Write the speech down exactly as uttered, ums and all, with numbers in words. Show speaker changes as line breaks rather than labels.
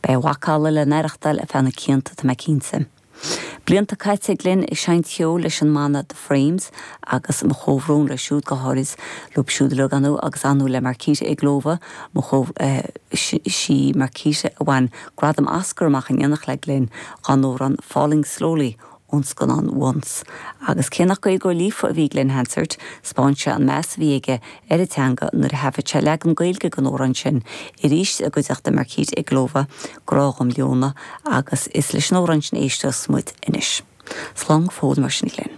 Beidh a mhacalla le n-aireachtáil ar feadh na cianta tá mé cinnte. Blianta caite Glenn ag seinnt ceoil leis an mbanna The Frames agus mo chomhbhrón leo siúd go háirid leo siúd le anú agus anú le Marketa Irglová mo eh, sí Marketa a bhain gradam Oscar amach in éineacht le Glenn don amhrán Falling Slowly ón scannán Once. Agus cé nach Gaeilgeoir líofa a bhí Glen Hansard, spáin sé an meas a bhí aige ar an teanga nuair a thaifead sé leagan Gaeilge den amhrán sin arís i gcuideachta Marketa Irglova Grá Dhom Leona agus is leis an amhrán sin éisteas muid anois. Slán fód mar sin Glen.